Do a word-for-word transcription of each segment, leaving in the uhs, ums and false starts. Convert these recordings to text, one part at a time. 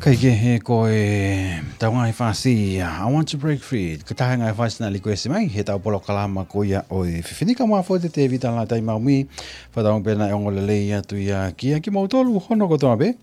Kae kehe ko e tau ngaahi fasi ia, I Want to Break Free, ko e taha e ngaahi fasi naʻe likuesi mai he tau polokalama ko ia ʻo e efiafi ni. Ka mafo te Tevita Lātai Maumi, fakatauange pē naʻe ongo lelei atu ia kia kimoutolu hono kotoa pē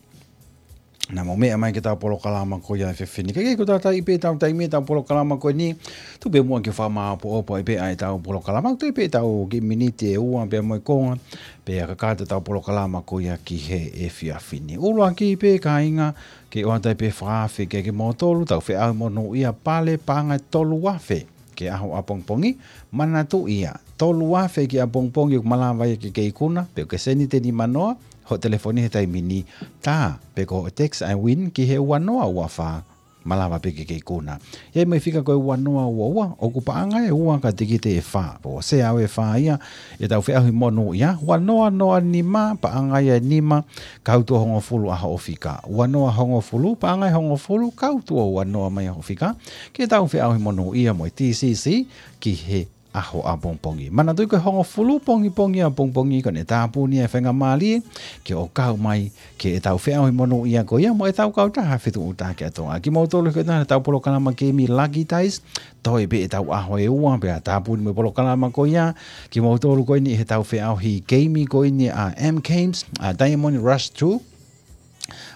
naʻa mou meʻa mai ki he tau polokalama ko ia ʻo e efiafi ni. Kae kehe ko e tau taimi pē, tau taimi e tau polokalama ko eni, tuku pē muʻa ke u fakamāopoopo ai pē ʻa e tau polokalama, ʻoku toe pē tau kiʻi miniti ʻe ua pea mo e konga pea kakato e tau polokalama ko ia ki he efiafi ni. ʻUluaki pē, kāinga, ke ʻoatu ai pē fakaafe kia kimoutolu, tau feʻauhi monūʻia, pale paʻanga ʻe tolu afe ki he ʻaho ʻapongipongi. Manatuʻi ia, tolu afe ki he ʻapongipongi ʻoku malava ia ke ke ikuna, pe ʻoku ke send ʻe nima noa hoʻo telefoni he taimi ni, tā, pe ko hoʻo text ʻa e win ki he ua noa ua fā, malava pē ke ke ikuna. ʻI ai mo e fika ko e ua noa ua ua, ʻoku paʻanga ʻe ua ka e tikite ʻe fā. Pea ʻoku sea ʻe fā ia ʻetau feʻauhi monūʻia. Ua noa noa nima, paʻanga ia ʻe nima, kau tuʻo hongofulu ʻa hoʻo fika. Ua noa hongofulu, paʻanga ʻe hongofulu, kau tuʻo ua noa mai ʻa hoʻo fika, ke tau feʻauhi monūʻia mo e T C C ki he ʻaho ʻapongipongi. Manatuʻi ko e hongofulu pongipongi ʻapongipongi ko ʻene tāpuni ʻa e faingamālie ke ʻo kau mai ki he tau feʻauhi monūʻia ko ia mo e tau kautaha Fetuʻutaki ʻa Tonga. Kimoutolu ko e tau polokalama keimi Lucky Dice, toe pē ʻetau ʻaho ʻe ua pea tāpuni mo e polokalama ko ia. Kimoutolu ko eni he tau feʻauhi keimi ko eni ʻa M Games, ʻa Diamond Rush two,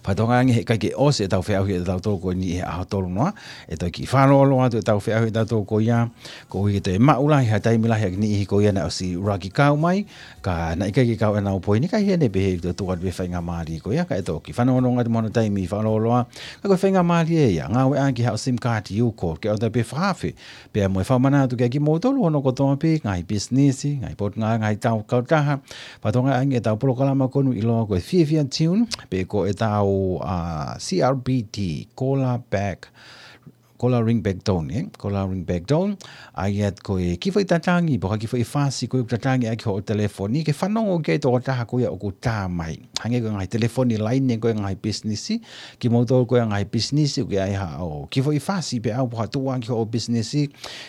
fakatauange he ʻikai ke ʻosi ʻetau feʻauhi ʻatautolu ko eni he ʻaho tolu noa, ʻe toe kiʻi fakalōloa atu ʻetau feʻauhi ʻatautolu ko ia, koeʻuhi ke toe maʻu lahi ha taimi lahi ʻa e niʻihi ko ia naʻe ʻosi ʻuluaki kau mai, ka naʻe ʻikai ke kau ʻenau poini, ka ʻi heʻene pehē ʻe toe tuku atu pē faingamālie ko ia, ka ʻe toe kiʻi fanongonongo atu mo hono taimi fakalōloa. Ka ko e faingamālie ia, ngāueʻaki haʻo sim card U-Call, ke ʻoatu ai pē fakaafe pea mo e fakamanatu kia kimoutolu hono kotoa pē, ngaahi pisinisi, ngaahi potungāue, ngaahi tau kautaha, fakatauange ʻa e tau polokalama ko eni ʻiloa ko e Fiefia Tune, pe ko e tau, ʻa, C R B T, Call Back, Call Ring Back Tone, ē? Call Ring Back Tone, ʻa ia ko e kiʻi foʻi tatangi, pe ko e kiʻi foʻi fasi ko ē ʻoku tatangi ʻaki hoʻo telefoni, ke fanongo ki ai e tokotaha ko ia ʻoku tā mai. Hangē ko e ngaahi telefoni laine ko ē ʻa e ngaahi pisinisi, kimoutolu ko ē ʻa e ngaahi pisinisi, ʻoku ʻi ai haʻo kiʻi foʻi fasi pē ʻaupito ʻoku tuʻu ʻaki hoʻo pisinisi,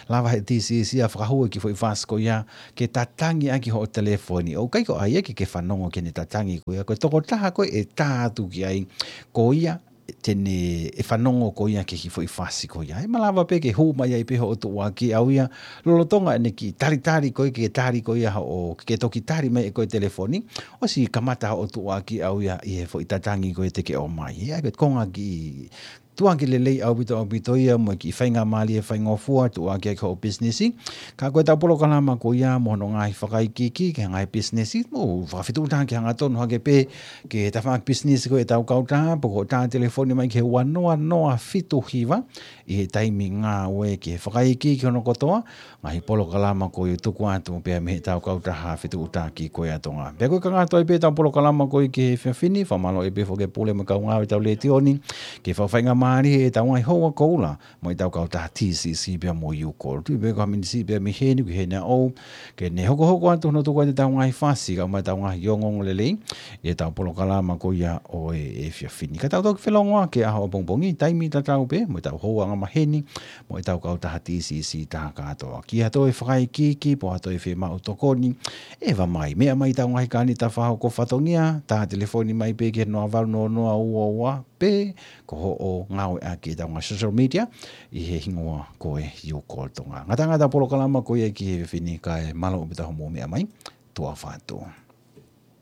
lava he T C C ʻo fakahū e kiʻi foʻi fasi ko ia ke tatangi ʻaki hoʻo telefoni. ʻOku ʻikai ko ia ke ke fanongo ki heʻene tatangi ko ia, ko e tokotaha ko ē ʻe tā atu ki ai, ko ia te ne ʻe fanongo ko ia ki he kiʻi foʻi fasi ko ia. ʻE malava pē ke hū mai ai pē hoʻo tuʻuaki ʻau ia, lolotonga ʻene kiʻi talitali ko ē, ke tali ko ia hoʻo, ke toki tali mai ʻe koe telefoni, ʻosi kamata hoʻo tuʻuaki ʻau ia ʻi he foʻi tatangi ko ē te ke ʻomai. ʻA ia ko e konga kiʻi tuʻuaki lelei ʻaupito ʻaupito ia mo e kiʻi faingamālie faingofua tuʻuaki ʻaki hoʻo pisinisi. Ka ko e tau polokalama ko ia mo hono ngaahi fakaikiiki ki he ngaahi pisinisi, mo fakafetuʻutaki hangatonu hake pē ki he tafaʻaki pisinisi ko ē ʻetau kautaha, pe ko hoʻo tā telefoni mai ki he ua noa noa fitu hiva ʻi he taimi ngāue ki he fakaikiiki hono kotoa, ngaahi polokalama ko ia ʻoku tuku atu pea mei he tau kautaha Fetuʻutaki ko ia ʻa Tonga. Pea ko e kakato ai pē ʻetau polokalama ko ia ki he efiafi ni, fakamālō ai pē foki ki he pule mo e kau ngāue ʻetau letiō ni, ke fakafaingamālie ʻetau ngaahi houa koula mo ʻetau kautaha T C C pea mo U-Call. Tuʻu pē ko ha miniti pē mei heni ki heʻene ʻaho, ke ne hokohoko atu hono tuku atu ʻetau ngaahi fasi, kae ʻumaʻā ʻetau ngaahi ongoongo lelei ʻi heʻetau polokalama ko ia ʻo e efiafi ni. Ka tau toki felongoaki he ʻaho ʻapongipongi, taimi tatau pē mo ʻetau houa angamaheni mo ʻetau kautaha T C C tā kātoa. Ki ha toe fakaikiiki, pe ko ha toe fiemaʻu tokoni, ʻeva mai, meʻa mai ʻetau ngaahi kānita fakahoko fatongia, tā telefoni mai pē ki he noa valu noa noa ua ua, pe ko hoʻo ngāueʻaki ʻetau ngaahi social media ʻi he hingoa ko e U-Call Tonga. Ngataʻanga ʻetau polokalama ko ia ki he efiafi ni, kae mālō ʻaupito hoʻomou meʻa mai. Tuʻa ʻofa atu.